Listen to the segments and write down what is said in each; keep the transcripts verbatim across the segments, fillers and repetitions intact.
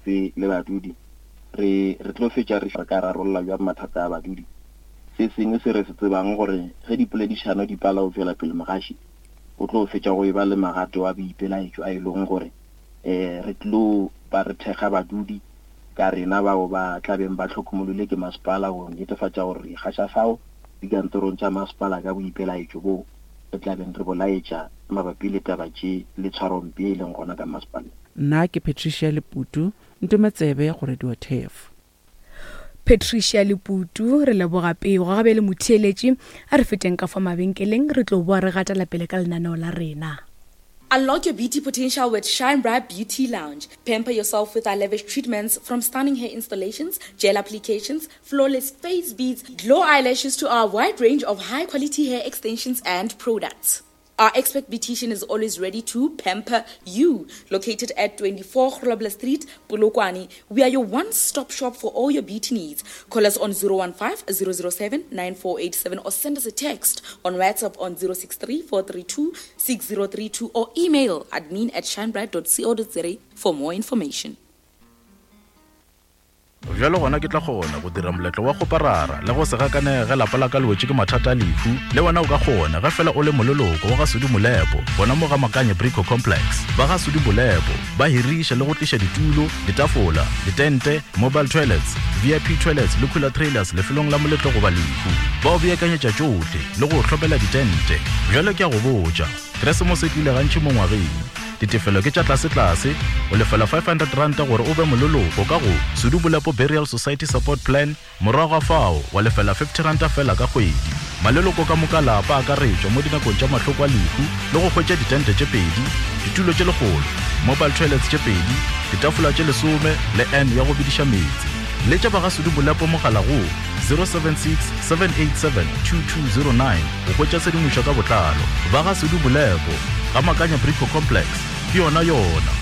gabotse le badudi re re tlo fetša re ka rarolla bjang mathata a badudi. Se sengwe se re se tsebang gore ge dipoledišano di pala go tšwela pele, mogaši o tlo fetša go e ba le magato a boipelaetšo a e leng gore um re tlo ba re thekga badudi ka rena bao ba tlabeng ba hlokomolole ke masepala go netefatša gore re ikgaša fao dikantorong tša masepala ka boipelaetšo bo re tlabeng re bolaetša mabapi le taba tše le tshwarompe e leng gona ka masepaleng. Nna ke Patricia Leputu, Ntometsebe go Radio Turf. Patricia Leputu, re leboga pego. Ga bjale motheeletši, a re feteng ka fa mabenkeleng, re tlo boa re gatela pele ka lenaneo la rena. Unlock your beauty potential with Shine Bright Beauty Lounge. Pamper yourself with our lavish treatments, from stunning hair installations, gel applications, flawless face beads, glow eyelashes to our wide range of high quality hair extensions and products. Our expert beautician is always ready to pamper you. Located at twenty-four Grobler Street, Polokwane, we are your one-stop shop for all your beauty needs. Call us on zero one five, zero zero seven, nine four eight seven or send us a text on WhatsApp on zero six three, four three two, six zero three two or email admin at shinebright dot co dot za for more information. Bjalo gona ke tla kgona go dira moletlo wa go parara le go se gakanege lapa la ka le wetše ke mathata a lehu. Le wena o ka kgona ge fela o le moleloko wa ga Sudi Molepo gona mo ga Makanye Brico Complex. Ba ga Sudi Molepo ba hiriša le go tliša ditulo, ditafola, ditente, mobile toilets, V I P toilets le cooler trailers lefelong la moletlo goba lehu. Ba o beakanyetša tšohle le go hlopela ditente. Bjalo ke a go botša, Keresemose e tlile gantši mo ngwageng. Ditefelo ke tša tlase-tlase, o lefela five hundred ranta gore o be moleloko ka go Sudi Bolepo Burial Society Support Plan, morago ga fao wa lefela fifty ranta fela ka kgwedi. Maleloko ka moka lapa a akaretšwa mo dinakong tša mahloko a lehu le go hwetša ditente tše pedi, ditulo tše lekgolo, mobile toilets tše pedi, ditafola tše lesome le N ya go bidiša meetse. Letša ba ga Sudi Bolepo mogala go zero seven six, seven eight seven, two two zero nine go hwetša tshedimošo ka botlalo. Ba ga Sudi Bolepo ga Makanya Brico Complex ke yona yona.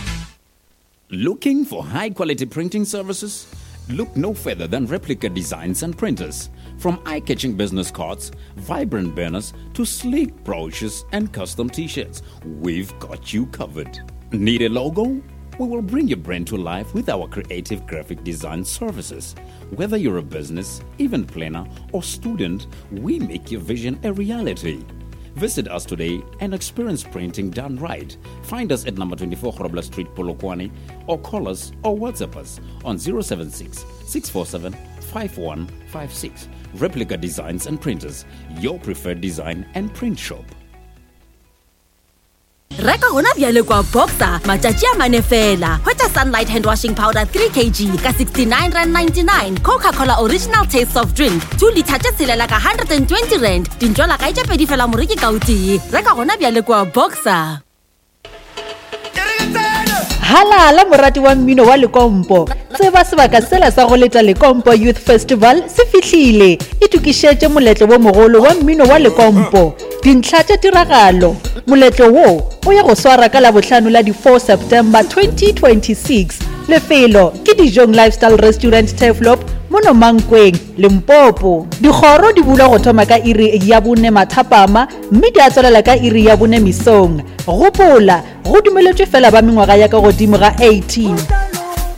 Looking for high quality printing services? Look no further than Replica Designs and Printers. From eye-catching business cards, vibrant banners, to sleek brochures and custom t-shirts, we've got you covered. Need a logo? We will bring your brand to life with our creative graphic design services. Whether you're a business, event planner, or student, we make your vision a reality. Visit us today and experience printing done right. Find us at number twenty-four Grobler Street, Polokwane, or call us or WhatsApp us on zero seven six, six four seven, five one five six. Replica Designs and Printers, your preferred design and print shop. Reka gona bjale kwa Boxer matšatši a mane fela. Hwetša Sunlight hand washing powder three kilograms ka sixty-nine rand ninety-nine, Coca-Cola original taste soft drink two liter tše tshelela ka hundred and twenty rand, dintšwala kae tše pedi fela moreki ka o tee. Reka gona bjale kwa Boxer. Halala morati wa mmino wa Lekompo. Tseba sebaka sela sa go leta Lekompo Youth Festival se fihlile. Itokišetše moletlo wo mogolo wa mmino wa Lekompo. Dintlha tša tiragalo. Moletlo wo o ya go swara ka Labohlano la di four September twenty twenty-six. Lefelo ke Dijong Lifestyle Restaurant Turfloop mono Mankweng, Limpopo. Dikgoro di bulwa go thoma ka iri ya bone mathapama mme di a tswalela ka iri ya bone mesong. Gopola, go dumeletšwe fela ba mengwaga ya ka godimo ga eighteen.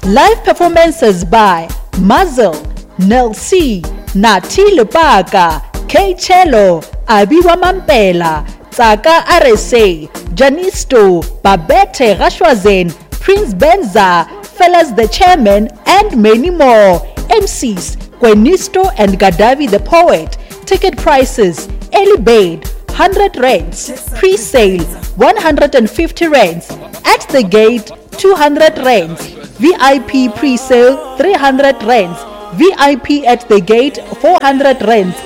Live performances by Muzzle, Nel C, Nati Lepaka, K Cello, Abiwa Mampela, Tsaka R S A, Janisto, Babette Gashwazen, Prince Benza, Fellas the Chairman, and many more. M Cs, Gwenisto and Gadavi the Poet. Ticket prices, early bird, hundred rands, pre-sale, one hundred and fifty rands, at the gate, two hundred rands, V I P pre-sale, three hundred rands, V I P at the gate, four hundred rands.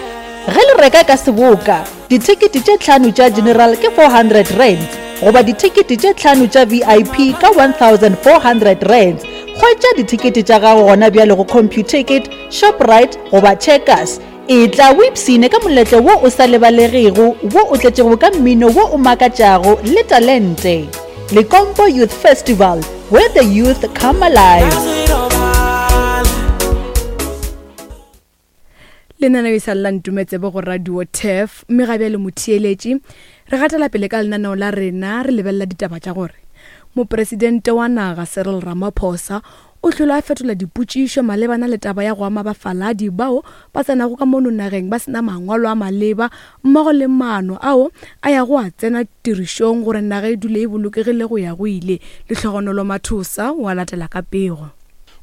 Ge le reka ka seboka, dithekete tše tlhano tša general ke four hundred rands, goba dithekete tše tlhano tša V I P ka one thousand four hundred rands. Hwetša dithekete tša gago gona bjale go Computicket, Shoprite goba Checkers. E tla o ipshine ka moletlo wo o sa lebalegego, wo o tletšego ka mmino wo o makatšago le talente. Lekompo Youth Festival, where the youth come alive. Lenaneo e sa lla Ntumetsebe go Radio Turf, mme ga bjale motheeletši re gatela pele ka lenaneo la rena, re lebelela ditaba tša gore mopresidente wa naga Cyril Ramaphosa o hlole a fetola dipotšišo malebana le taba ya go ama bafaladi bao ba tsenago ka mono nageng ba sena mangwalo a maleba mmogo le maano ao a ya go a tsena tirišong gore naga e dule e bolokegile go ya go ile. Lehlogonolo Mathosa o a latela ka pego.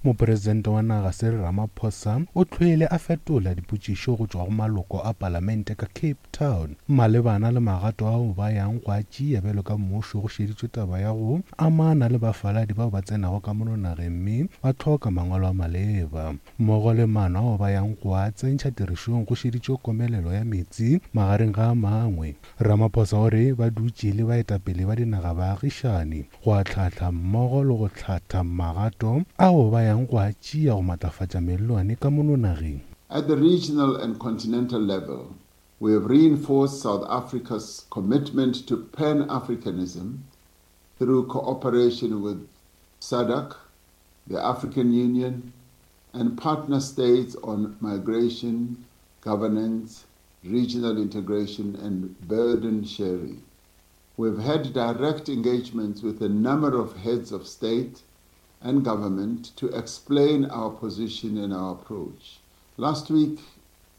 Mopresidente wa naga Cyril Ramaphosa o tlhoile a fetola dipotšišo go tšwa go maloko a palamente ka Cape Town malebana le magato ao ba yang go a tšea bjalo ka mmušo go šeditšwe taba ya go amana le bafaladi bao ba tsenago ka mono nageng mme ba hloka mangwalo a maleba mmogo le maano ao ba yang go a tsentšha tirišong go šeditšwe komelelo ya metsi magareng ga a mangwe. Ramaphosa o re ba dutše le baetapele ba dinaga baagišani go ahlahla mmogo le go hlatha magato ao ba yang go a tšea go matlafatša mellwane ka mono nageng. At the regional and continental level, we have reinforced South Africa's commitment to Pan-Africanism through cooperation with SADC, the African Union, and partner states on migration, governance, regional integration, and burden sharing. We've had direct engagements with a number of heads of state and government to explain our position and our approach. Last week,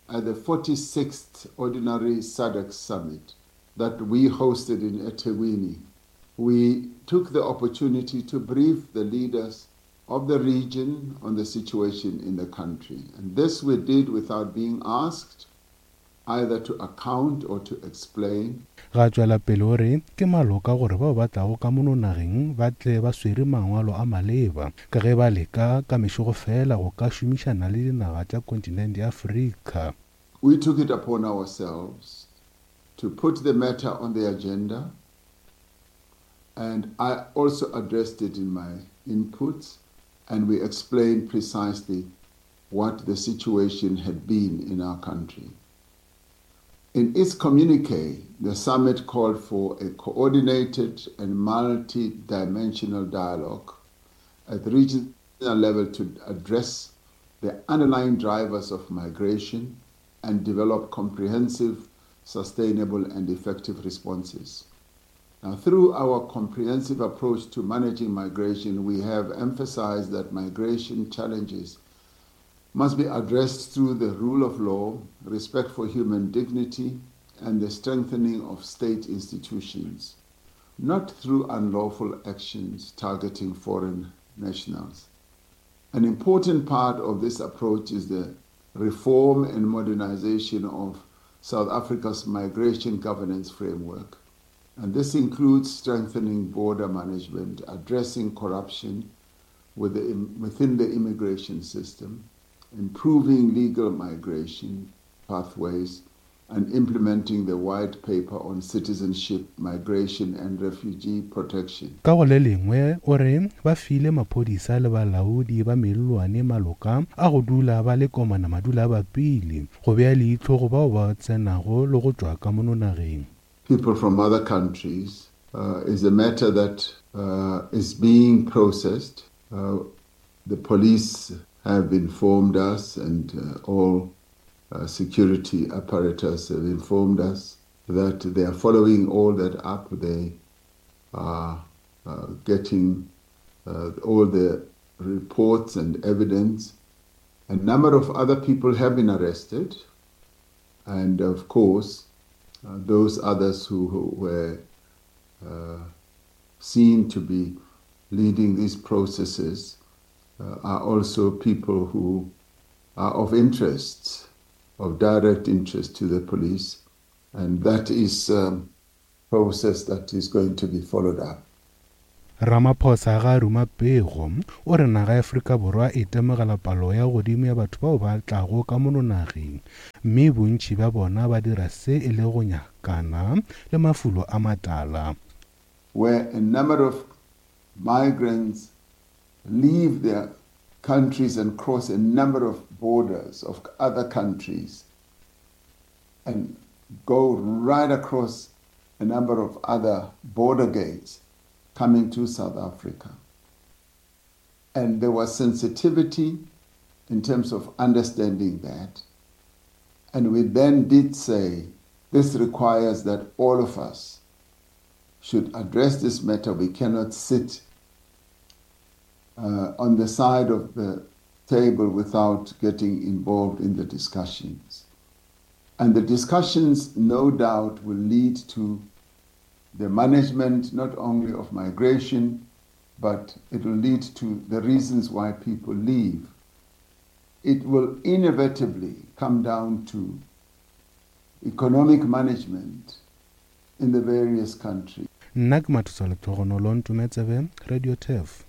at the forty-sixth Ordinary SADC Summit that we hosted in eThekwini, we took the opportunity to brief the leaders of the region on the situation in the country. And this we did without being asked either to account or to explain. Ga tšwela pele o re ke maloka gore bao ba tlago ka mono nageng ba tle ba swere mangwalo a maleba ka ge ba leka ka mešogo fela go ka šomišana le dinaga tša kontinente ya Afrika. We took it upon ourselves to put the matter on the agenda, and I also addressed it in my inputs, and we explained precisely what the situation had been in our country. In its communique, the summit called for a coordinated and multi-dimensional dialogue at the regional level to address the underlying drivers of migration and develop comprehensive, sustainable, and effective responses. Now, through our comprehensive approach to managing migration, we have emphasized that migration challenges must be addressed through the rule of law, respect for human dignity, and the strengthening of state institutions, not through unlawful actions targeting foreign nationals. An important part of this approach is the reform and modernization of South Africa's migration governance framework. And this includes strengthening border management, addressing corruption with the, within the immigration system, improving legal migration pathways, and implementing the white paper on citizenship, migration, and refugee protection. Ka go le lengwe o re ba file maphodisa le balaodi ba mellwane maloka a go dula ba le komana madula a bapile go bea leihlo go bao ba tsenago le go tšwa ka mono nageng. People from other countries uh, is a matter that uh, is being processed. Uh, the police have informed us, and uh, all uh, security apparatus have informed us that they are following all that up. They are uh, getting uh, all the reports and evidence. A number of other people have been arrested, and of course, uh, those others who, who were uh, seen to be leading these processes uh, are also people who are of interest, of direct interest to the police, and that is a um, process that is going to be followed up. Ramaphosa ga a ruma pego o re naga ya Afrika Borwa e temogela palo ya godimo ya batho bao ba tlago ka mono nageng mme bontši bja bona ba dira se e le go nyakana le mafulo a matala. Where a number of migrants leave their countries and cross a number of borders of other countries and go right across a number of other border gates coming to South Africa. And there was sensitivity in terms of understanding that. And we then did say, this requires that all of us should address this matter. We cannot sit uh, on the side of the table without getting involved in the discussions. And the discussions, no doubt, will lead to the management not only of migration, but it will lead to the reasons why people leave. It will inevitably come down to economic management in the various countries. Nna ke Mathosa Lehlogonolo Ntometsebe, Radio Turf.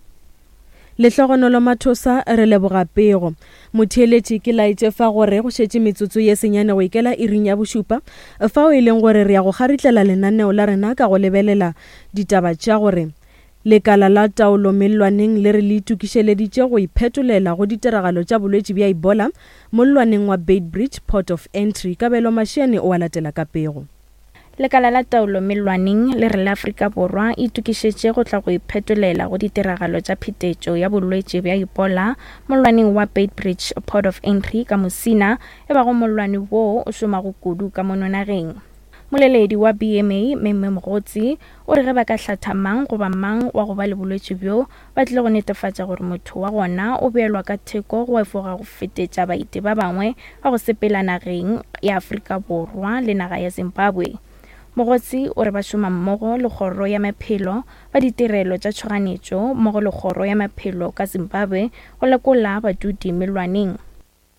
Lehlogonolo Mathosa, re leboga pego. Motheeletši ke laetše fa gore go šetše metsotso ye senyane go ikela iring ya bošupa, fao e leng gore re ya go kgaritlela lenaneo la rena ka go lebelela ditaba tša gore lekala la taolo mellwaneng le re le itokišeleditše go iphetolela go ditiragalo tša bolwetši bja Ebola mollwaneng wa Beitbridge Port of Entry. Kabelo Mashiane o a latela ka pego. Lekala la taolo mellwaneng le re la Afrika Borwa e itokišetše go tla go iphetolela go ditiragalo tša phetetšo ya bolwetši bja Ebola mollwaneng wa Beitbridge Port of Entry ka Musina, e bago mollwane wo o šomago kudu ka mono nageng. Moleledi wa B M A, Memme Mogotsi, o re ge ba ka hlatha mang goba mang wa go ba le bolwetši bjo, ba tlile go netefatša gore motho wa gona o beelwa ka theko go efoga go fetetša baeti ba bangwe ba go sepela nageng ya Afrika Borwa le naga ya Zimbabwe. Mogotsi o re ba šoma mmogo le kgoro ya maphelo ba ditirelo tša tšhoganetšo mmogo le kgoro ya maphelo ka Zimbabwe go lekola badudi mellwaneng.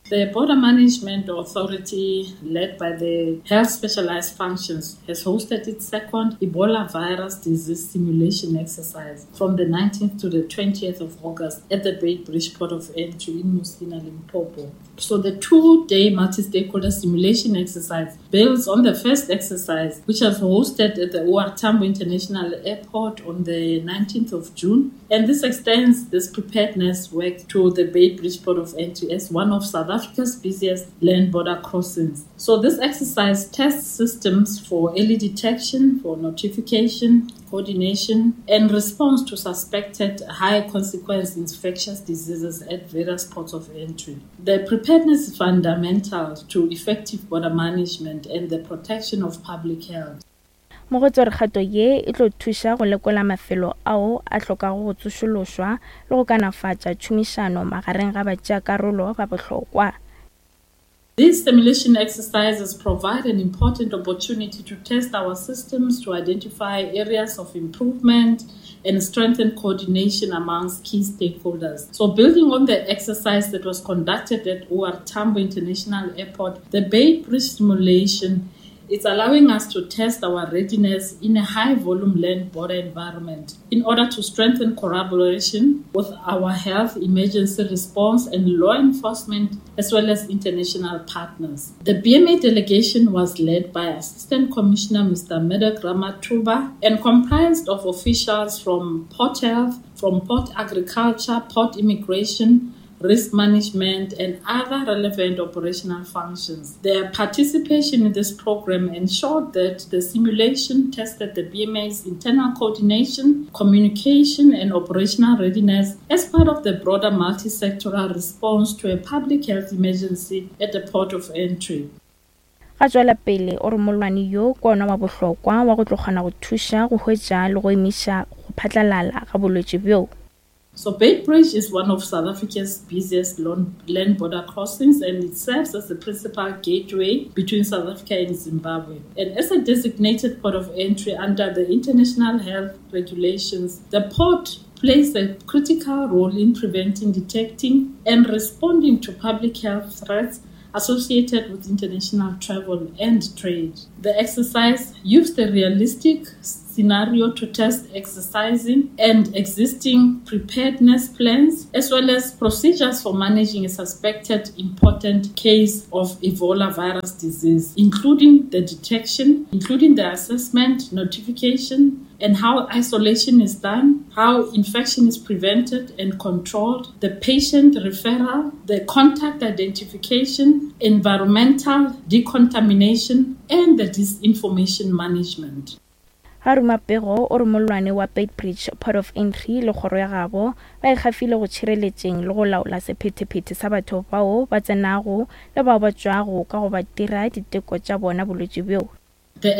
The Border Management Authority, led by the Health Specialized Functions, has hosted its second Ebola virus disease simulation exercise from the nineteenth to the twentieth of August at the Beitbridge Port of Entry in Musina, Limpopo. So the two-day multi-stakeholder simulation exercise builds on the first exercise, which was hosted at the O R Tambo International Airport on the nineteenth of June. And this extends this preparedness work to the Beitbridge Port of Entry as one of South Africa's busiest land border crossings. So this exercise tests systems for early detection, for notification, coordination, and response to suspected high consequence infectious diseases at various ports of entry. The preparedness is fundamental to effective border management and the protection of public health. Mogotsi o re kgato ye e tlo thuša go lekola mafelo ao a hlokago go tsošološwa le go kanafatša tšhomišano magareng ga batšeakarolo ba bohlokwa. These simulation exercises provide an important opportunity to test our systems, to identify areas of improvement and strengthen coordination amongst key stakeholders. So building on the exercise that was conducted at O R Tambo International Airport, the Beitbridge simulation it's allowing us to test our readiness in a high-volume land border environment in order to strengthen collaboration with our health emergency response and law enforcement, as well as international partners. The B M A delegation was led by Assistant Commissioner Mister Medek Ramatuba and comprised of officials from Port Health, from Port Agriculture, Port Immigration, risk management, and other relevant operational functions. Their participation in this program ensured that the simulation tested the B M A's internal coordination, communication, and operational readiness as part of the broader multi-sectoral response to a public health emergency at the port of entry. Ga tswela pele o re mollwane yo ke ona wa bohlokwa wa go tlo kgona go thuša go hwetša le go emiša go phatlalala ga bolwetši bjo. So Beitbridge is one of South Africa's busiest land border crossings, and it serves as the principal gateway between South Africa and Zimbabwe. And as a designated port of entry under the international health regulations, the port plays a critical role in preventing, detecting, and responding to public health threats associated with international travel and trade. The exercise used a realistic scenario to test exercising and existing preparedness plans, as well as procedures for managing a suspected important case of Ebola virus disease, including the detection, including the assessment, notification, and how isolation is done, how infection is prevented and controlled, the patient referral, the contact identification, environmental decontamination, and the disinformation management. Ga ruma pego o re mollwane wa Beitbridge Port of Entry le kgoro ya gabo ba ikgafile go tšhireletšeng le go laola sephethephethe sa batho bao ba tsenago le bao ba tšwago ka go ba dira diteko tša bona bolwetši bjo. The